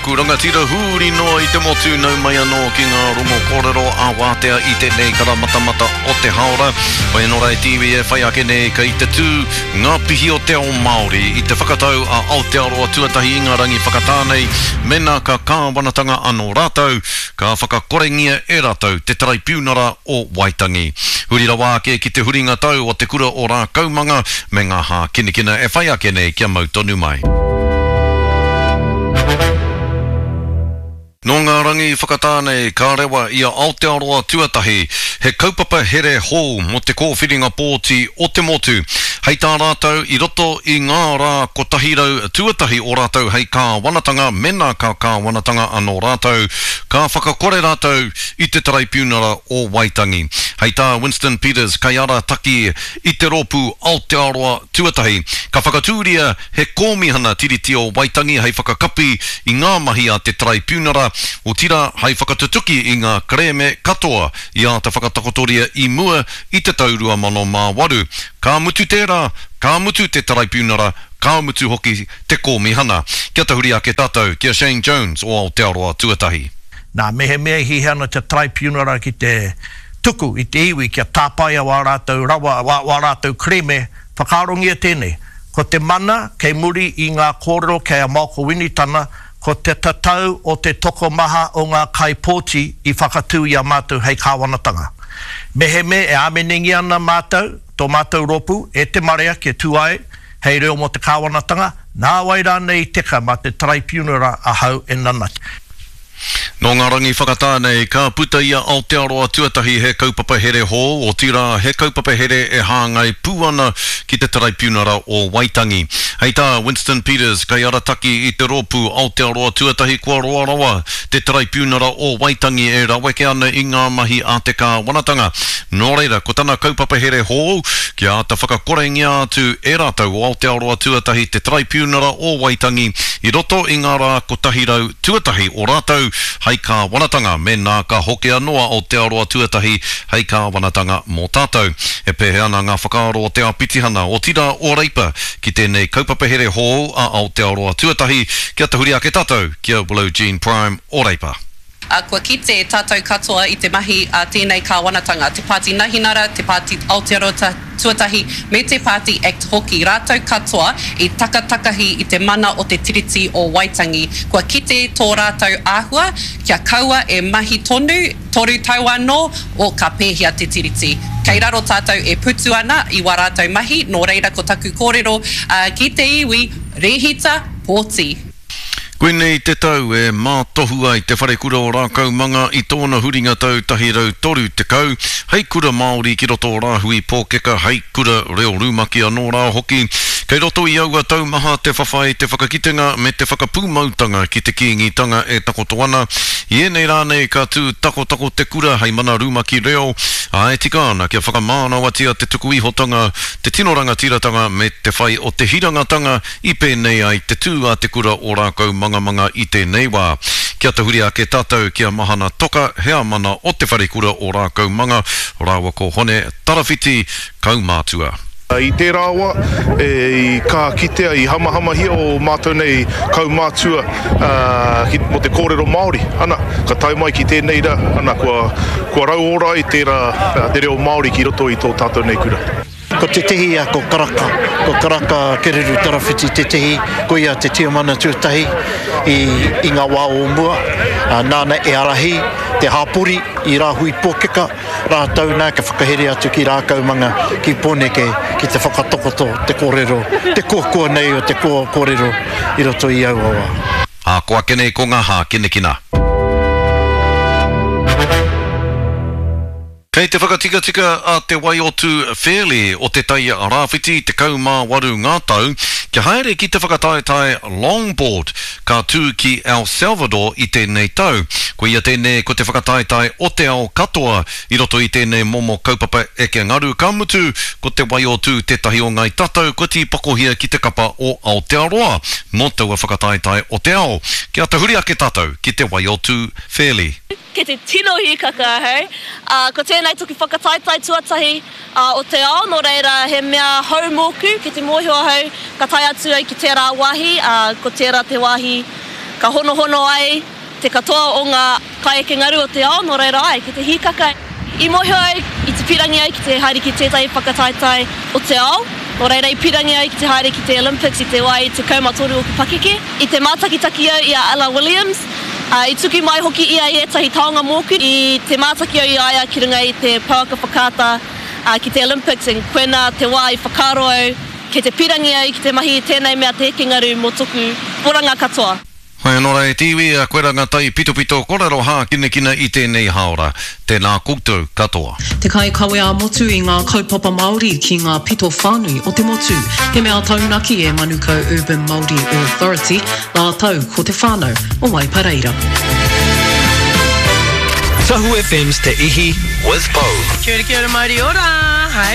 aku rangatira hūri noa i te motu nau mai anō ki ngā rongo kōrero ā wātea i tēnei karamatamata o te haora. Whai anō rā e te iwi e whai ake nei kei te tū ngā pihi o te ao Māori i te whakatau a Aotearoa tuatahi i ngā rangi whakatā nei mēnā ka kāwanatanga anō rātou ka whakakorengia e rātou te Taraipiunara o Waitangi. Huri rawa ake ki te huringa tau o te kura o Rākaumanga me ngā hākinakina e whai ake nei kia mau tonu mai. Nō ngā rangi whakatā nei ka rewa i a Aotearoa Tuatahi he kaupapa here hou mō te kōwhiringa pōti o te motu. Hei tā rātou i roto i ngā rā 100 tuatahi o rātou hei kāwanatanga mēnā ka kāwanatanga anō rātou, ka whakakore rātou i te Taraipiunara o Waitangi. Hei tā Winston Peters kaiarataki i te rōpū Aotearoa Tuatahi, ka whakatūria he kōmihana Tiriti o Waitangi hei whakakapi i ngā mahi a te Taraipiunara, otirā hei whakatutuki i ngā kerēme katoa i āta whakatakotoria i mua i te tau 2008. Ka mutu tērā, ka mutu te Taraipiunara, ka mutu hoki te kōmihana. Kia tahuri ake tātou ki a Shane Jones o Aotearoa Tuatahi. Nā, mehemea e hiahia ana te Taraipiunara ki te tuku i te iwi kia tāpaea wā rātou rawa, wā, wā rātou kerēme, whakaarongia tēnei, ko te mana kei muri i ngā kōrero kei a Malcolm Winitana, ko te tatau o te tokomaha o ngā kaipōti i whakatū i a mātou hei kāwanatanga. Mehemea e āmenengia ana mātou, tō mātou rōpū, e te marea kia tū ai hei reo mō te kāwanatanga, nāwai rānei i teka mā te Taraipiunara ahau e nanati. Nō ngā rangi whakatā nei, ka puta i a Aotearoa Tuatahi he kaupapa here hou, otirā, he kaupapa here e hāngai pū ana ki te Taraipiunara o Waitangi. Hei tā Winston Peters, kaiarataki i te rōpū Aotearoa Tuatahi kua roa rawa te Taraipiunara o Waitangi e raweke ana i ngā mahi a te kāwanatanga. Nō reira, ko tana kaupapa here hou, kia āta whakakorengia atu e rātou o Aotearoa Tuatahi te Taraipiunara o Waitangi i roto i ngā rā 100 tuatahi o rātou hei kāwanatanga mēnā ka hoki anō a Aotearoa Tuatahi hei kāwanatanga mō tātou. E pēhea ana ngā whakaaro o te āpitihana, otirā o Reipa, ki tēnei kaupapa here hou a Aotearoa Tuatahi? Kia tahuri ake tātou ki a Willow Jean Prime o Reipa. Ā, kua kite tātou katoa i te mahi a tēnei kāwanatanga, te Pāti Nahinara, te Pāti Aotearoa Tuatahi me te Pāti Act hoki, rātou katoa i takatakahi i te mana o te Tiriti o Waitangi. Kua kite tō rātou āhua kia kaua e mahi tonu, toru tau anō, o ka pēhea te Tiriti. Kei raro tātou e putu ana i wā rātou mahi, nō reira ko taku kōrero ki te iwi, rēhita, pōti. Koinei te tau e mātohu ai Te Wharekura o Rākaumanga i tōna huringa tau 130, hei kura Māori ki roto o Rāhui Pōkeka, hei kura reo rumaki anō rā hoki. Kei roto i aua tau maha te whawhai, te whakakitenga me te whakapūmautanga ki te Kīngitanga e takoto ana. I ēnei rā nei ka tū takotako te kura hei mana rumaki reo, ā, e tika ana kia whakamānawatia te tukuihotanga, te tino rangatiratanga me te whai o te hirangatanga I pēnei ai te tū a Te Kura o Rākaumangamanga i tēnei wā. Kia tahuri ake tātou ki a Mahana Toka, heamana o Te Wharekura o Rākaumanga, rāua ko Hone Tarawhiti, kaumātua. I tērā wā, i kaha kitea, i hamahamahia ō mātou nei kaumātua mō te kōrero Māori. Ana, ka tae mai ki tēnei rā, ana, kua, kua rauora ai tērā, te reo Māori ki roto i tō tātou nei kura. Ko tētehi ko Karaka, ko Karaka Kereru Tarawhiti tētehi, ko ia te tiamana tuatahi i, i ngā wā o mua, nāna e ārahi te hāpori i Rāhui Pōkeka, rātou nā ka whakahere atu ki Rākaumanga, ki Pōneke, ki te whakatakoto te kōrero, te koakoa nei o te kōrero i roto i aua wā. Ā, ko ake nei ko ngā hākinakina. Kei te whakatikatika a Te Waiotu Fairlie o Te Tai Rāwhiti, 18 ngā tau, kia haere ki te whakataetae longboard ka tū ki El Salvador i tēnei tau. Koia tēnei ko te whakataetae o te ao katoa i roto i tēnei momo kaupapa eke ngaru, ka mutu ko Te Waiotu tētahi o Ngāi Tatau kua tīpakohia ki te kapa o Aotearoa mō taua whakataetae o te ao. Kia tahuri ake tātou ki Te Waiotu Fairlie. Kei te tino hīkaka ahau. Ā, ko tēnei toku whakataetae tuatahi o te ao, nō reira he mea hou mōku, kei te mōhio ahau ka tae atu au ki tērā wāhi, ā, ko tērā te wāhi ka honohono ai te katoa o ngā kaieke ngaru o te ao, nō reira āe, ki te hīkaka. I mōhio au, i te pīrangi au ki te haere ki tētahi whakataetae o te ao, nō reira i pīrangi au ki te haere ki te Olympics i te wā i 13 oku pakeke. I te mātakitaki au i a Ella Williams, ā, i tuku mai hoki ia i ētahi taonga mōku. I te mātaki au i a ia ki runga i te pouaka whakaata, ā, ki te Olympics, and koinā te wā i whakaaro au kei te pīrangi au ki te mahi i tēnei mea te eke ngaru mō toku oranga katoa. Hoi ano ra e te iwi, koe ra nga tai pitopito korero hākinakina i tēnei haora. Tēnā koutou katoa. Te kaikawe ā-motu i ngā kaupapa Māori ki ngā pito whānui o te motu. He mea taunaki e Manukau Urban Māori Authority rātou ko te whānau o Waipareira. Tahu FM's Te Ihi with Pou. Kia ora, kia ora, mauri ora! Hi.